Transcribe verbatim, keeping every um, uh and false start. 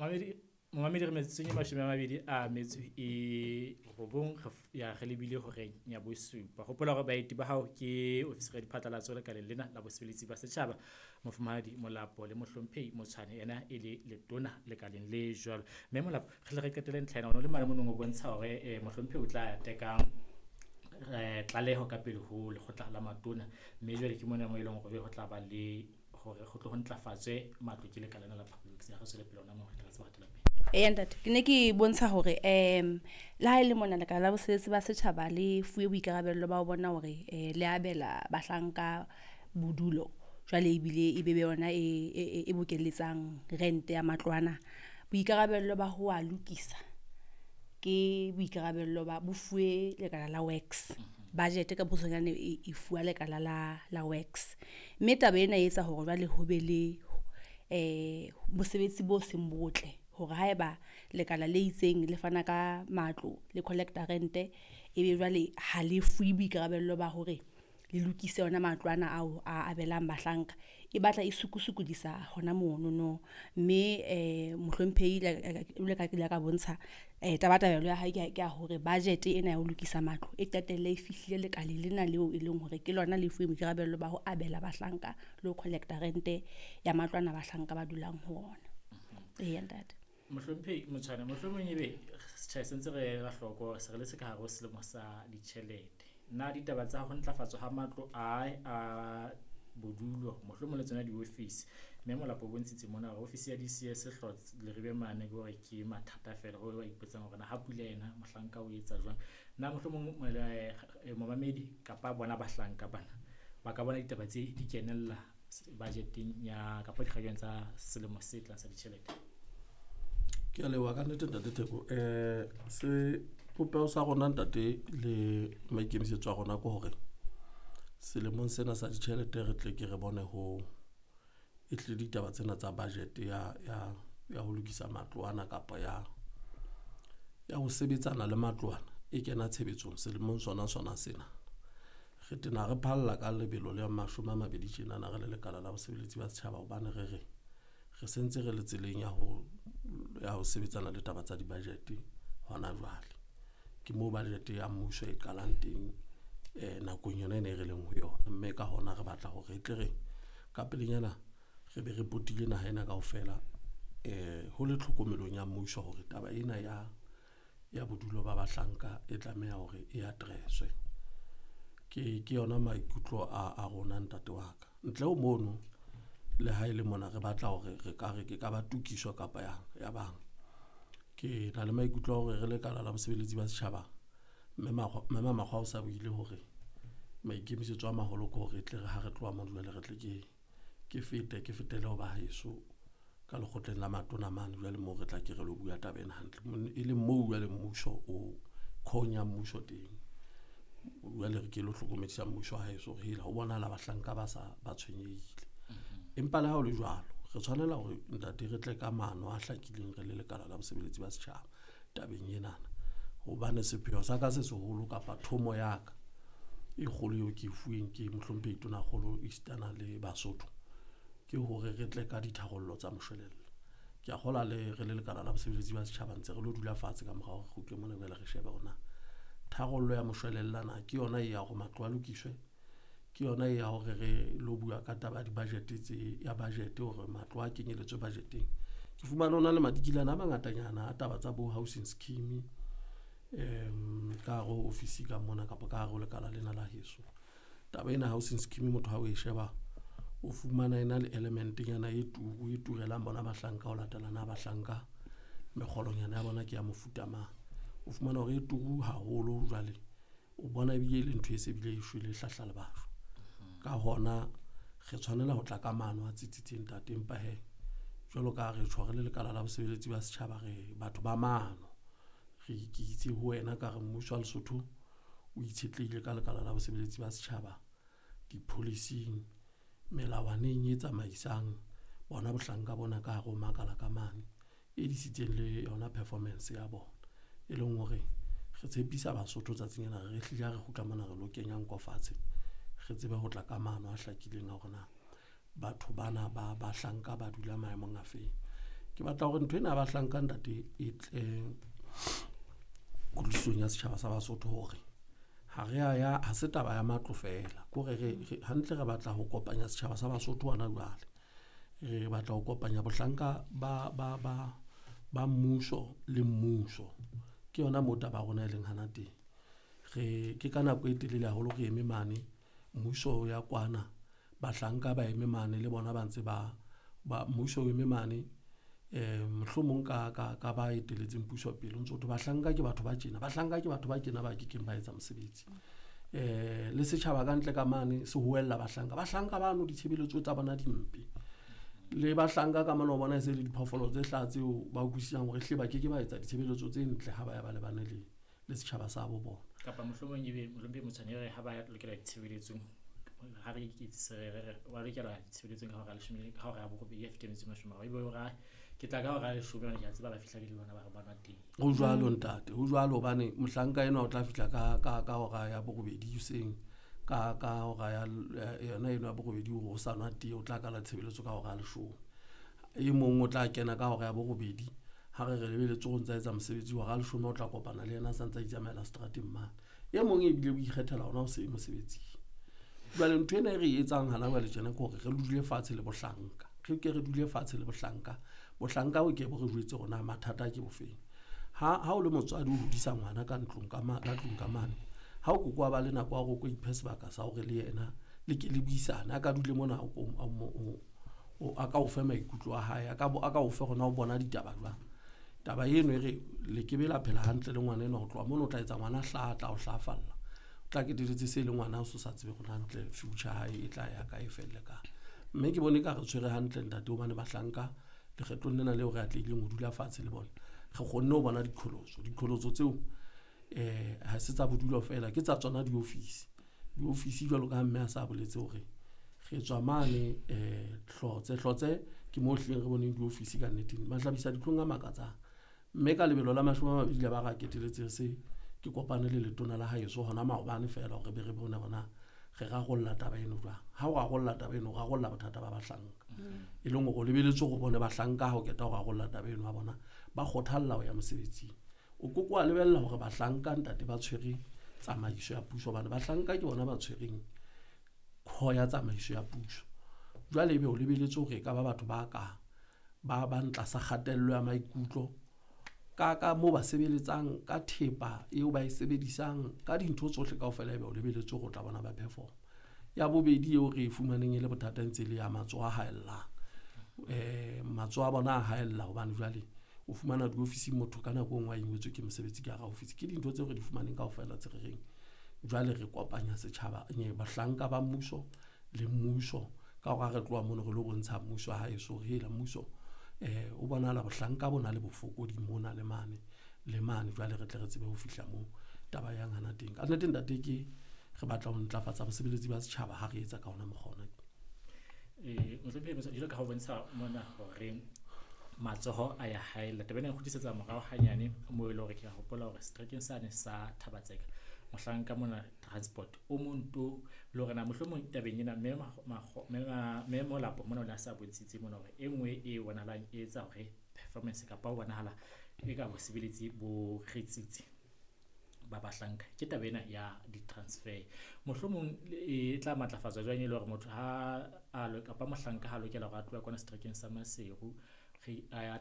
Mamedi momamedi re metsotsong e mashome a mabedi a metso e robong re ya re lebile horeng ya bosupa. Hopola hore baeti ba hao ke ofisiri ya diphatlalatso lekaleng lena la bosebeletsi ba setjhaba, Mofumahadi Molapo le Mohlomphehi Motshwane, yena e le letona lekaleng le jwalo. Mme Molapo re hle re qetelle ntlha ena, o no le mane monong o bontsha hore eh, mohlomphehi o tla teka eh, tlaleho ka pele ho lekgotla la matona, mme jwale ke mona mo e leng hore ho tla ba le hore ho tlo ho ntlafatswe matlo ke lekala lena la public works. Ya re tswele pele hona moo re tla tseba hatela pele. Eya ntate, ke ne ke bontsha hore um le ha e le mona lekala la bosebetsi ba setjhaba le fuwe boikarabello ba ho bona hore um le abela bahlanka bodulo. Jwale ebile e be be yona e, e, e bokelletsang rente ya matlo ana. Boikarabello ba ho a lokisa ke boikarabello ba bo fuwe lekala la works. Budget ka bokgutshwanyane e, e fuwa lekala la la works. Mme taba ena e etsa hore jwale ho be le eh bosebetsi bo seng botle hore haeba lekala le itseng le fana ka matlo le collector rente, ebe jwale ha le fuwe boikarabello ba hore le lokise ona matlo ana ao a abelang bahlanka. E batla e sukusukodisa hona monono. Mme eh mohlomphehi jwalo ka ke ile ka bontsha eh tabatabelo ya hae ke ya hore budget ena ya ho lokisa matlo e qetelle e fihlile lekaleng lena leo e leng hore ke lona le fuweng boikarabello ba ho abela bahlanka le ho collector rente ya matlo ana bahlanka ba dulang ho ona. Eya ntate. Mohlomphehi Motshwane, mohlomong ebe setjhaba se ntse re ela hloko se re le se ka hare ho selemo sa ditjhelete. Na ditaba tsa ho ntlafatswa ha matlo a a bodulo, mohlomong le tsona diofisi, mme Molapo o bontshitse mona hore ofisi ya D C S Hlotse Leribe mane ke hore ke mathata fela ho ba ipotsang hore na ha pula ena mohlanka o etsa jwang. Na mohlomong eh, momamedi kapa bona bahlanka bana ba ka bona ditaba tse di kenella budgeteng ya kapa dikgakeng tsa selemo se tlang sa ditjhelete? Ke a leboha ka nnete ntate Theko. Eh, se popeho sa rona ntate le maikemisetso a rona ke hore selemong sena sa ditjhelete re tle ke re bone ho e tle ditaba tsena tsa budget ya, ya, ya ho lokisa matlo ana kapa ya, ya ho sebetsana le matlo ana e kena tshebetsong selemong sona sona sena. Re tena re phalla ka lebelo le mashome a mabedi tjenana re le lekala la bosebeletsi ba setjhaba, hobane re re re sentse re le tseleng ya ho, ya ho sebetsana le taba tsa di-budget hona jwale. Ke moo budget ya mmuso e qalang teng, eh, nakong yona ena e re leng ho yona. Mme ka hona re batla hore e tle re ka pelenyana re be re potile naha ena kaofela, eh, ho le tlhokomelong ya mmuso hore taba ena ya, ya bodulo ba bahlanka e tlameha hore e address-we. Ke, ke yona maikutlo a, a rona ntate wa ka. Ntle ho mono, le ha e le mona re batla hore re ka re ke ka ba tokiso kapa ya, ya bang. Ke na le maikutlo a hore re lekala la bosebeletsi ba setjhaba, mme Makgwa, mme Makgwa o sa buile hore maikemisetso a maholo ke hore e tle re ha re tloha mo jwale re tle ke, ke fete, ke fetele ho ba heso ka lekgotleng la matona mane jwale moo re tla ke re lo bua taba ena hantle. Mon-, e leng moo jwale mmuso o khonya mmuso teng. Jwale re ke lo hlokomedisa mmuso wa heso hore hela ho bonahala bahlanka ba sa ba tshwenyehile. Empa le ha ho le jwalo, re tshwanela hore ntate re tle ka maano a hlakileng re le lekala la bosebeletsi ba setjhaba tabeng enana. Hobane sepheo sa ka se seholo kapa thomo ya ka e kgolo eo ke e fuweng ke mohlomphehi Tonakgolo esitana le Basotho ke hore re tle ka ditharollo tsa moshwelella. Ke a kgolwa le re le lekala la bosebeletsi ba setjhaba ntse re lo dula fatshe ka morao re kgutle mona jwale re shebe hore na tharollo ya moshwelella na ke yona e ya hore matlo a lokiswe, ke yona e ya hore re lo bua ka taba ya di-budget tse, ya budget hore matlo a kenyeletswe budgeteng. Ke fumane ho na le madikilana a mangatanyana a taba tsa bo housing scheme, em, ka hare ho ofisi ka mona kapa ka hare ho lekala lena la heso. Taba ena housing scheme motho ha o e sheba o fumana ena le elementenyana e turu, e turelang bona bahlanka ho latela na bahlanka mekgolonyana ya bona ke ya mofuta mang. O fumana hore e turu haholo jwale o bona ebile e le ntho e se bile e shwele e hlahla le batho. Ka hona re tshwanela ho tla ka maano a tsitsitseng ntate, empa he jwalo ka ha re tjho re le lekala la bosebeletsi ba setjhaba re batho ba maano. Re ke itse ho wena ka re mmuso wa Lesotho o itshetlehile ka lekala la bosebeletsi ba setjhaba di-policy-ing, melawaneng e tsamaisang bona bohlanka bona ka hare ho makala ka mane, e disitseng le yona performance ya bona. E leng hore re tshepisa Basotho tsatsing lena re hlile ha re kgutla mona re lo kenya nko fatshe, re tsebe ho tla ka maano a hlakileng a hore na batho bana ba bahlanka ba dula maemong a feng. Ke batla hore ntho ena ya bahlanka ntate e tle kutlwisisong ya setjhaba sa Basotho hore ha re a ya, ha se taba ya matlo feela. Ke hore re hantle re batla ho kopanya setjhaba sa Basotho hona jwale. Re batla ho kopanya bohlanka ba ba ba ba mmuso le mmuso. Ke yona moo taba ya rona e leng hana teng. Re ke ka nako e telele haholo re eme mane, mmuso o ya kwana, bahlanka ba eme mane le bona ba ntse ba ba mmuso o eme mane um mohlomong ka ka ka ba etelletseng puso pele o ntso thwe bahlanka ke batho ba tjena, bahlanka ke batho ba tjena ba kekeng ba etsa mosebetsi. Um le setjhaba ka ntle ka mane se hoella bahlanka, bahlanka bano ditshebeletso tsa bona di mpe. Le bahlanka ka mane o bona e se le diphoofolo tse hlaha tseo ba utlwisisang hore ehlile ba keke ba etsa ditshebeletso tse ntle ha ba ya ba lebane le le setjhaba sa bo bona. Kapa mohlomong ebe mohlomphehi Motshwane re ha ba lokela ditshebeletsong, ha re iketsise re re wa lokela ditshebeletsong ka hora ya leshome, ka hora ya borobedi ya fete metso e mashome a mararo. Ebe hora ke tla ka hora ya leshome hobane ke a tseba ba fihla ke le bona ba re ba nwa tee. Ho jwalo ntate, ho jwalo hobane mohlanka enwa o tla fihla ka ka ka hora ya borobedi hoseng, ka ka hora ya yona eno ya borobedi hore o sa nwa tee, o tla qala tshebeletso ka hora ya leshome. E mong o tla kena ka hora ya borobedi, ha re re lebeletse hore o ntsa etsa mosebetsi hora ya leshome o tla kopana le yena a sa ntsa itsamaela seterateng mane. E mong ebile o ikgethela hona ho se mosebetsing. Jwale ntho ena e re etsang hana jwale tjena ke hore re dule fatshe le bohlanka. Re ke re dule fatshe le bohlanka. Bohlanka bo ke bo re jwetse hore na mathata ke bofeng. Ha ha o le motswadi o hodisa ngwana ka ntlong ka ma, ka tlung ka mane, ha o koko wa ba le nako ya hore o ko iphe sebaka sa hore le yena le ke le buisane, a ka dule mona o o a ka o fe maikutlo a hae, a ka a ka o fe hore na o bona ditaba jwang. Taba eno e re le ke be la phela hantle le ngwana enwa, ho tloha mono o tla etsa ngwana hlaha, tla o hlahafalla. O tla keteletse se le ngwana o so sa tsebe hore hantle future hae e tla ya kae, e felle kae. Mme ke bone ka re tshwere hantle ntate hobane bahlanka lekgetlong lena leo re atlehileng ho dula fatshe le bona, re kgonne ho bona diqholotso. Diqholotso tseo eh ha se tsa bodulo feela, ke tsa tsona diofisi. Diofisi jwalo ka ha mme a sa boletse hore re tswa mane eh Hlotse, Hlotse ke moo hlileng re boneng diofisi ka nnete, mahlabisa dihlong a makatsang. Mme ka lebelo la mashome a mabedi le ba ra keteletse se ke kopane le letona la haeso hona maobane feela hore be re bone hore na re rarolla taba eno jwang. Ha o rarolla taba eno, o rarolla bothata ba bahlanka. E leng hore o lebeletse hore o bone bahlanka ha o qeta ho rarolla taba eno ya bona, ba kgothalla ho ya mosebetsing. O koko wa lebella hore bahlanka ntate ba tshwere tsamaiso ya puso, hobane bahlanka ke bona ba tshwereng kho ya tsamaiso ya puso. Jwale ebe o lebeletse hore e ka ba batho ba ka ba bang tlasa kgatello ya maikutlo ka ka moo ba sebeletsang, ka thepa eo ba e sebedisang, ka dintho tsohle kaofela, ebe o lebeletse hore o tla bona ba perform. Ya bobedi eo re e fumaneng e le bothata ntse le ya matsoho a haellang. Eh matsoho a bona a haella hobane jwale o fumana diofising motho ka nako e nngwe a ingwetswe ke mosebetsi ka hara ofisi. Ke dintho tseo re di fumaneng kaofela tse re reng jwale re kopanya setjhaba, bahlanka ba mmuso le mmuso ka hore ha re tloha mono re lo bontsha mmuso haeso hore hela mmuso eh o bonahala bohlanka bo na le bofokodi mona le mane le mane, jwale re tle re tsebe ho fihla moo taba yang hana teng. Ka nnete ntate ke re batla ho ntlafatsa bosebeletsi ba setjhaba ha re etsa ka ona mokgwa ona. Eh mohlomphehi Motshwane, jwalo ka ha o bontsha mona hore matsoho a ya haella, taba ena e nkgutlisetsa morao hanyane moo e leng hore ke a hopola hore seterekeng sane sa Thabatseka mohlanka mona transport o mong to le hore na mohlomong tabeng ena mme mme Molapo mona o ne a sa bontshitse mona hore e nngwe e bonahalang e etsa hore performance kapa ho bonahala e ka bosebeletsi bo retsitse ba bahlanka ke taba ena ya di-transfer. Mohlomong e tla matlafatswa jwang e le hore motho ha a kapa mohlanka ha lokela hore a tloha kwana seterekeng sa Maseru re a